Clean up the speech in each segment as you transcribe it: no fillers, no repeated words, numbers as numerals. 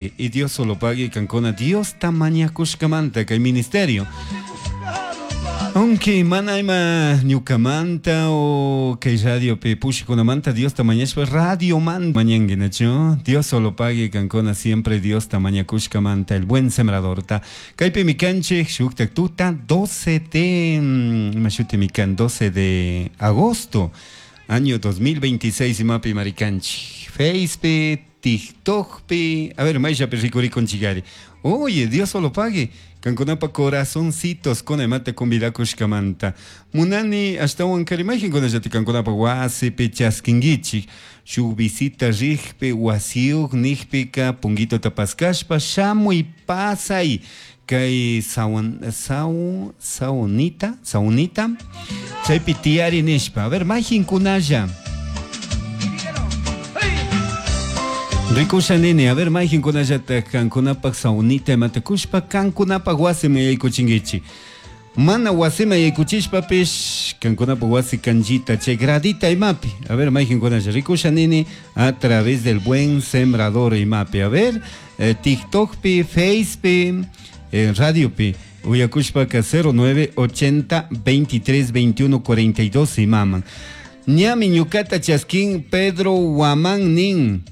Y Dios solo pague kankuna Diosta mañakushkamanta kay ministerio. Aunque mana ima ñukamanta o kay radiopi pushikunamanta Diosta mañashpa radiomanta mañanki nachu? Dios solo pague kankuna siempre Diosta mañakushkamanta el buen sembradorta. Kaypimi kanchik shuktak tuta 12 de ima shutimi kan 12 de agosto año 2026 imapi marikanchik. Facepi, TikTokpi, a ver, mayllapi rikurikunchikari. Oye, Dios solo pague. Kankunapa corazoncitos kuna imata convidakushkamanta. Munani ashtawan kari mayqinkunallata kankunapa wasipi chaskinkichik. Shuk visita rikpi wasiyuq nikpika punguitota paskashpa shamuy pasay kay sawan saw saunita saunita chaypi tiyari nishpa. A ver, mayqinkunalla. Rikusha nini, a ver, mayqinkunallata kankunapaq saunita imata kushpa kankunapaq wasiman yaykuchinkichik. Mana wasiman yaykuchishpapish kankunapaq wasi kanchita chay gradita imapi. A ver, mayqinkunalla rikusha nini a través del buen sembrador imapi. A ver, TikTokpi, Facepi, radiopi uyakushpaka 09 80 23 21 42 imaman. Ñami ñukata chaskin Pedro Guamán nin.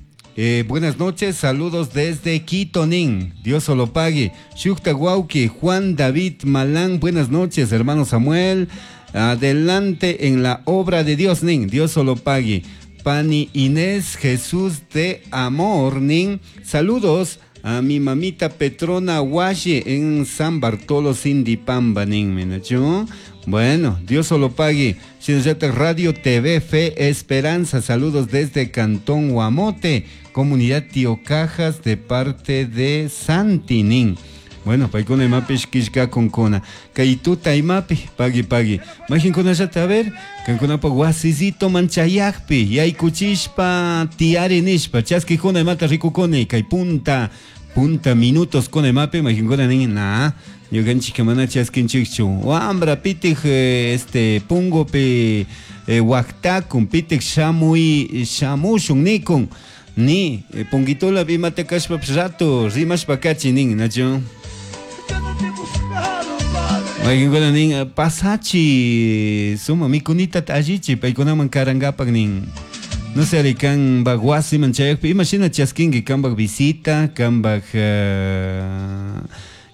Buenas noches, saludos desde Quito, nin. Dios solo pague. Shukta Guauqui, Juan David Malán, buenas noches, hermano Samuel. Adelante en la obra de Dios, nin. Dios solo pague. Pani Inés Jesús de Amor, nin. Saludos a mi mamita Petrona Hualle en San Bartolo, Sindipamba, nin. ¿Menacho? Bueno, Dios solo pague. Shinallata Radio TV Fe Esperanza, saludos desde Cantón Guamote, Comunidad Tío Cajas, de parte de Santinin. Bueno, paykuna imapish killkakunkuna. Kay tuta imapi, pagui pagui. Mayqinkunallata a ver, kankunapa wasisito manchayakpi, yaykuchishpa tiyari nishpa, chaskikuna imata rikukuni, kay punta, punta minutos kuna imapi, mayqinkuna nin, na, ñukanchik mana chaskinchikchu. Wambra pitik este pungupi waktakun, pitik shamuy, shamushun nikun. Ni, punguitola imata kashpapish rato rimashpa kachi nin, nachu? Mayqinkuna nin, pasachi, suma mikunita allichi, paykunaman karankapak nin. No sé, ari kanpak wasiman chayakpi, imashina chaskinki kanpak visita, kanpak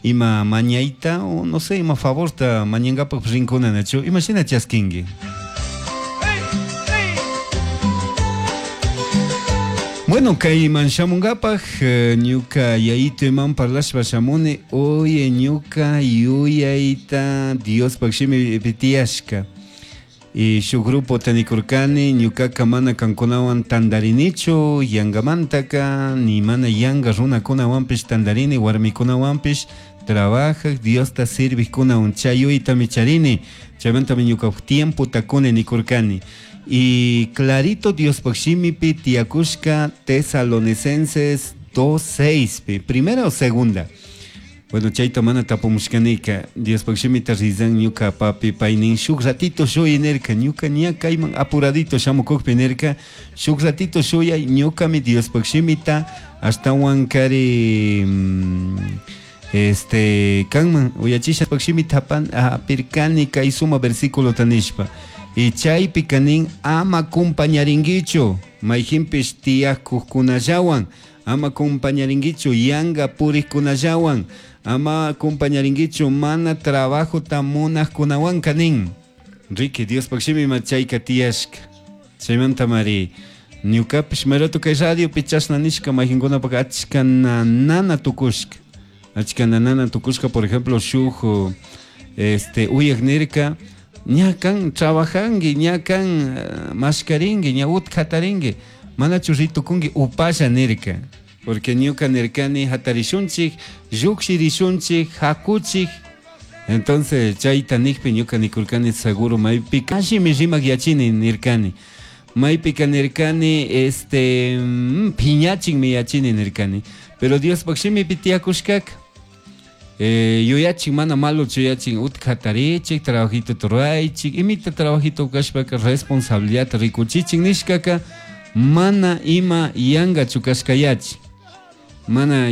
ima mañayta, o no sé, ima favorta mañankapak rinkuna, nachu? Imashina chaskinki? Bueno, kayman shamunkapak, ñuka yayito iman parlashpa shamuni, oye ñuka yuyayta Diospak shimi tiyashka. Y shuk grupo tanikurkani, ñukaka mana kankunawan tandarinichu, yangamantaka, ni mana yanga runakunawanpish tandarini, warmikunawanpish trabajak, Diosta sirvijkunawan chay yuyaytami charini, chaymantami ñuka tiempota kuni nikurkani. Y clarito Diospak shimipi tiyakushka Tesalonicenses 2:6 pi, primera o segunda. Bueno, chayta mana tapumushkanika, Diospak shimita rizan ñuka papi paynin shuk ratito shuy nirka, ñuka ña kayman apuradito shamukukpi nirka, shuk ratito shuyay ñukami Diospak shimita ashtawan kari, este, kanman uyachisha Diospak shimita apirkani kay suma versículo tanishpa. Y chaypi kanin ama kumpañarinkichu, mayjinpish tiyakukkunallawan, ama kumpañarinkichu yanga purikkunallawan, ama kumpañarinkichu mana trabajota munajkunawan kanin. Ricky, Diospak shimi ma chayka tiyashka. Chaymanta mari, ñukapish mayrato kay radiopi chashna nishka mayjinkunapak achka nana tukushka. Achka nana tukushka, por ejemplo, shuk, este, uyak nirka, ña kan trabajanki, ña kan mashkarinki, ña utkatarinki, manachu ritukunki upalla nirka. Porque ñuka nirkani hatarishunchik, llukshirishunchik, hakuchik. Entonces chayta nikpi ñuka nikurkani seguro maypika allimi rimak yachini nirkani. Maypika nirkani, este, phiñachinmi yachini nirkani. Pero Diospak shimipi tiyakushkaka. Yuyachin mana malo chuyachin utkatarichik, trabajito turaychik, imita trabajito kashpaka responsabilidad rikuchichin nishkaka mana ima yangachu kashkayachi. Mana.